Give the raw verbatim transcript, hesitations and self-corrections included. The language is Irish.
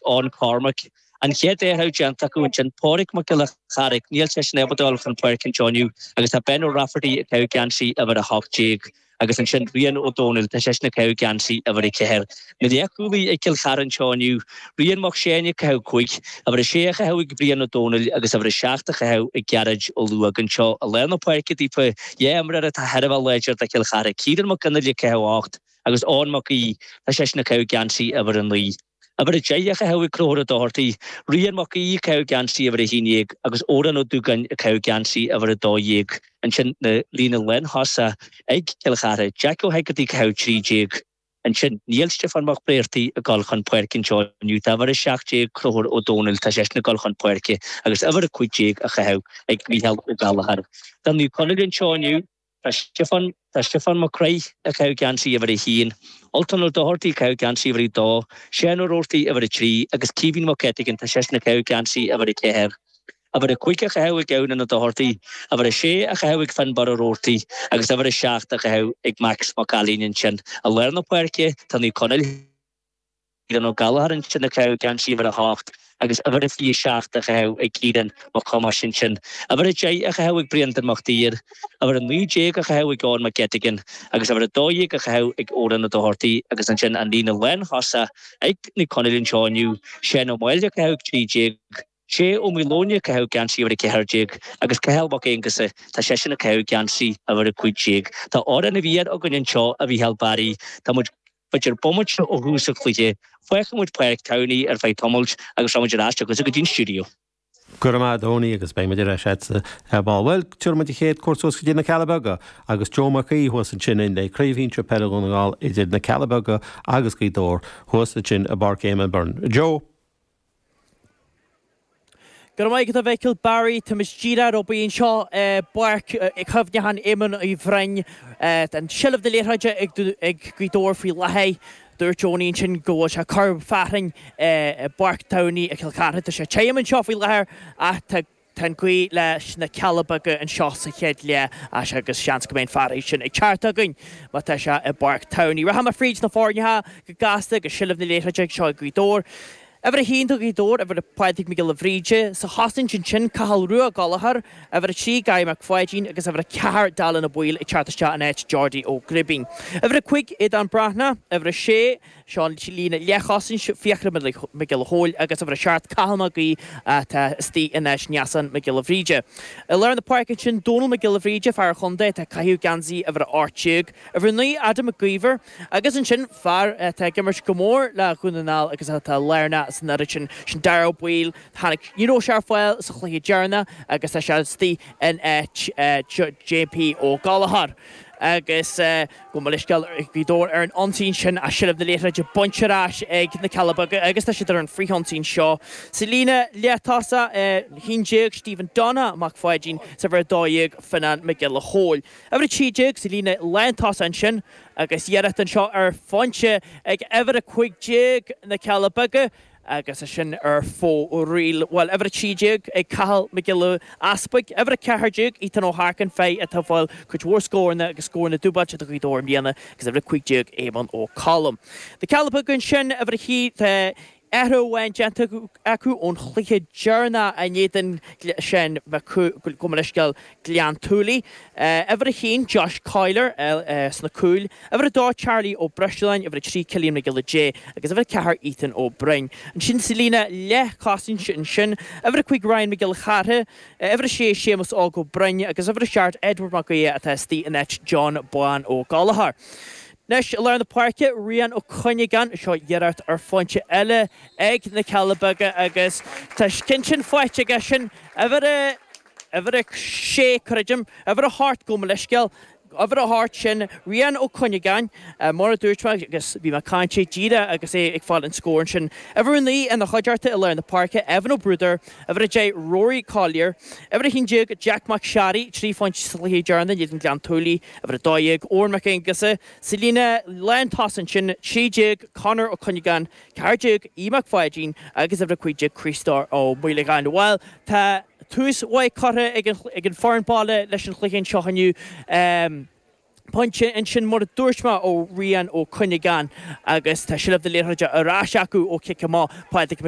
Eoin Cormac. An chéad athrú déanta acu ansin Pádraig Mac Giolla Charraig níl seisean ábalta dul chun páirce anseo inniu agus tá Ben O'Rafferty ag caitheamh geansaí uimhir a hocht déag agus ansin Rian Ó Dónaill tá seisean ag caitheamh geansaí uimhir a ceathair. Na leathchúlaithe ag Cill Chartha anseo inniu, Rian Mac Séin ag caitheamh cúig, uimhir a sé a chaitheamh ag Brian Ó Dónaill agus uimhir a seacht a chaitheamh ag Gearóid Ó Luaig anseo i lár na páirce daofa dhá imreoir atá thar a bheith láidir do Chill Chartha, Ciarán Mac Fhionnghaile ag caitheamh ocht agus Eoin Mac Aoidh tá seisean ag caitheamh geansaí uimhir a naoi. Uimhir a deich a chaitheamh ag Conchúr Ó Dochartaigh, Rian Mac Aoidh ag caitheamh geansaí uimhir a haon déag agus Odhrán Ó Dúgáin ag caitheamh geansaí uimhir a dó dhéag. Ansin na líne lántosach ag Cill Chartha, Jack Ó hEigeartaigh ag caitheamh trí déag. Ansin níl Stiofán Mac Bréartaigh ag dul chun páirce anseo inniu. Tá uimhir a seacht déag Conchúr Ó Dónaill, tá seisean ag dul chun páirce agus uimhir a cúig déag a chaitheamh ag Mícheál Ó Gallchóir. Do Naomh Conaill anseo inniu. Tá Stiofán Tá Stiofán Mac Craith ag caitheamh geansaí uimhir a haon, Ultan Ó Dochartaigh ag caitheamh geansaí uimhir a dó, Seán Ó Roarty uimhir a trí agus Caoimhín Mac Eitigan tá seisean ag caitheamh geansaí uimhir a ceathair. Uimhir a cúig a chaitheamh ag Eoin Ó Dochartaigh, uimhir a sé a chaitheamh ag Fionnbarr Ó Roarty agus uimhir a seacht a chaitheamh ag Max Mac Ailín ansin. I lár na páirce tá Naomh Conaill. Ciarán Ó Gallchóir ansin ag caitheamh geansaí uimhir a hocht agus uimhir a fiche seacht a chaitheamh ag Ciarán Mac Thomáis ansin. Uimhir a deich a chaitheamh ag Bréandan Mac Duibhir, uimhir a naoi déag a chaitheamh ag Eoin Mac Eitigan agus uimhir a dó dhéag a chaitheamh ag Odhrán Ó Dochartaigh agus ansin an líne lántosach ag Naomh Conaill anseo inniu, Seán Ó Máille ag caitheamh trí déag, Sé Ó Maoileoin ag caitheamh geansaí uimhir a ceathair déag agus Cathal Mac Aonghusa, tá seisean ag caitheamh geansaí uimhir a cúig déag. Tá Amhrán na bhFear againn anseo, a Mhícheál Barry. Tá muid B'fhéidir bomaite ó thús an chluiche, fágfaidh muid Páirc Towney ar feadh tamaill agus rachaidh muid ar ais chugatsa go dtí an stiúideo. Go raibh maith agat a Tony agus beidh muid ar ais agatsa ar ball. Bhuel, tabharfaidh muid an chéad cuairt suas go dtí na Cealla Beaga agus Joe Mac Aoidh thuas ansin le Craobh Shinsir Peile Dhún na nGall idir na Cealla Beaga agus Gaoth Dobhair thuas ansin i bPáirc Éamonn Byrne. Joe. Go raibh maith agat a Mhichíl Barry, tá muid díreach ar obair anseo i bPáirc Chuimhneacháin Éamoinn Uí Bhroin. Tá seilbh na liathróide ag Gaoth Dobhair faoi láthair. Dúirt Tony ansin go bhfuil sé corr fearthainn i bPáirc Towney i gCill Chartha. Tá sé tirim anseo faoi láthair ach tá Tá an ghaoth leis na Cealla Beaga anseo sa chéad leath agus seans go mbeidh an fearthainn sin ag teacht againn má tá sé i bPáirc Towney. Rachaidh mé fríd na foirneacha go gasta agus seilbh na liathróide anseo ag Gaoth Dobhair. Uimhir a haon do Ghaoth Dobhair, uimhir a Pádraig Mac Giolla Bhríde. Sa chosaint ansin, Cathal Rua Ó Gallchóir, uimhir a trí Gary Mac Pháidín agus uimhir a ceathair Dallin Ó Baoill ag teacht isteach in áit Geordie Ó Gribín. Uimhir a cúig Aodán Breathnach, uimhir a sé, Seo an líne leathchosaint, Fiachra Mac Giolla Chóill agus uimhir a seacht Cathal Mac Aoidh atá istigh in áit Neasán Mac Giolla Bhríde. I lár na páirce ansin, Dónal Mac Giolla Bhríde, fear an chontae atá ag caitheamh geansaí uimhir a ocht déag, uimhir a naoi Adam Mac Íomhair agus ansin fear atá ag imirt go mór le Dhún na nGall agus atá lárnach san fhoireann sin, sin Darragh Ó Baoill. Tháinig, ní raibh sé ar fáil sa chluiche deireanach agus tá sé istigh in áit JP Ó Gallchóir. Agus gabh mo leithscéal Gaoth Dobhair ar an ionsaí ansin ach seilbh na liathróide bainte ar ais ag na Cealla Beaga agus tá siad ar an frithionsaí anseo. Sa líne leath-tosach, a haon déag Stephen Donagh Mac Pháidín, is uimhir a dó dhéag Fionnán Mac Giolla Chóill. Uimhir a trí déag sa líne lántosach ansin agus iarracht anseo ar phointe ag uimhir a cúig déag na Cealla Beaga. Agus é sin ar fóraoil. Bhuel, uimhir a trí déag ag Cathal Mac Giolla Easpaig, uimhir a ceathair déag Ethan Ó hEarcáin, fear atá ag fáil cuid mhór scóranna agus scóranna dúbailte do Ghaoth Dobhair i mbliana, agus uimhir a cúig déag Éamonn Ó Colm. Na Cealla Beaga ansin, uimhir a haon, tá athrú amháin déanta acu ón chluiche deireanach in éadan sin, gabh mo leithscéal, Gleann tSúilí. Uimhir a haon, Josh Coyler sna cúil. Uimhir a dó, Charlie Ó Breisleáin. Uimhir a trí, Cillian Mac Giolla Dé. Agus uimhir a ceathair, Ethan Ó Broin. Ansin sa líne leathchosaint ansin, uimhir a cúig, Ryan Mac Giolla Cheartha. Uimhir a sé, Séamus Óg Ó Broin. Agus uimhir a seacht, Edward Mac Aodha atá istigh in áit John Bán Ó Gallchóir. Anois i lár na páirce, Rian Ó Cuinneagáin, seo iarracht ar phointe eile ag na Cealla Beaga agus tá ceann sin faighte aige sin, uimhir a. Uimhir a sé, creidim, uimhir a hocht, gabh mo leithscéal, uimhir a hocht, sin Rian Ó Cuinneagáin, mar a dúirt mé agus bhí mé ag caint díreach agus é ag fáil an scór ansin. Uimhir a naoi ina chuideachta i lár na páirce, Evan Ó Bruadair, uimhir a deich, Rory Collier, uimhir a haon déag, Jack Mac Searraigh, trí phointe sa chluiche deireanach in éadan Gleann tSúilí, uimhir a dó dhéag, Eoin Mac Aonghusa, sa líne lántosaigh ansin, trí déag, Conor Ó Cuinneagáin, ceathair déag, Aodh Mac Pháidín agus uimhir a cúig déag, Críostóir Ó Maolagáin. Bhuel, tá. Tús mhaith curtha ag an foireann baile leis an chluiche anseo inniu. Pointe ansin mar a dúirt mé ó Rian Ó Cuinneagáin agus tá seilbh na liathróide ar ais acu ó chic amach Pádraig Mac